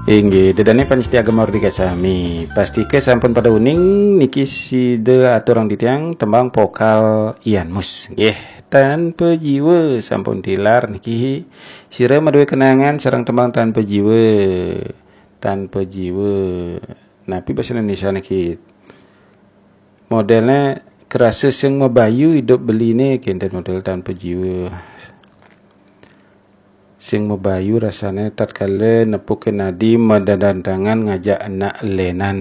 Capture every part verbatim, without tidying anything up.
Inggih, ida dané pamiarsa Gema Merdeka sami. Pastika sampun pada uning niki sida aturang titiang tembang vokal Ian Mus. Nggih, Tanpa Jiwa sampun tilar niki. Sira madué kenangan sareng tembang Tanpa Jiwa. Tanpa Jiwa. Napi basa Indonesia niki? Modélné kerasa sing mabayu idup beliné, kénten modél Tanpa Jiwa. Sing mabayu rasané tatkala nepukin adi madandangan ngajak anak lénan.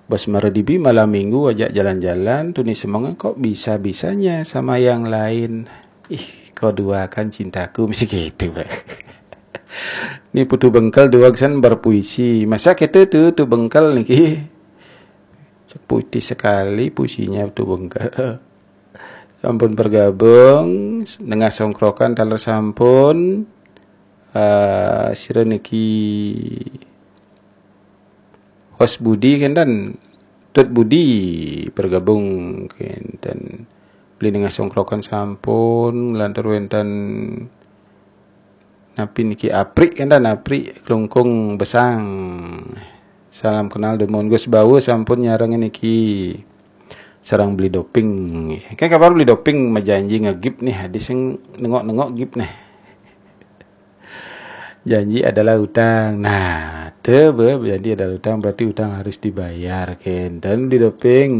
Bos maradibi malam minggu ajak jalan-jalan, tuni semenga kok bisa-bisanya sama yang lain. Ih, kau duakan cintaku, mesti gitu, Bro. Ini Putu Bengkel dua kesan berpuisi. Masa kita tuh, Putu Bengkel niki. Putih sekali puisinya Putu Bengkel. Sampun bergabung, nengah songkrokan taler sampun. Eh, sira niki host Budi kénten, Tut Budi bergabung kénten. Beli nengah songkrokan sampun, lantur wénten napi niki, Aprik kénten, Aprik Klungkung Besang. Salam kenal dumun. Gus Bawa sampun nyarengin niki. Sareng Beli Doping. Kan kabar Beli Doping majanji ngegip nih, hadis sing nengok-nengok gip nih. Janji adalah utang. Nah, teu be, janji adalah utang, berarti utang harus dibayar, kénten Beli Doping.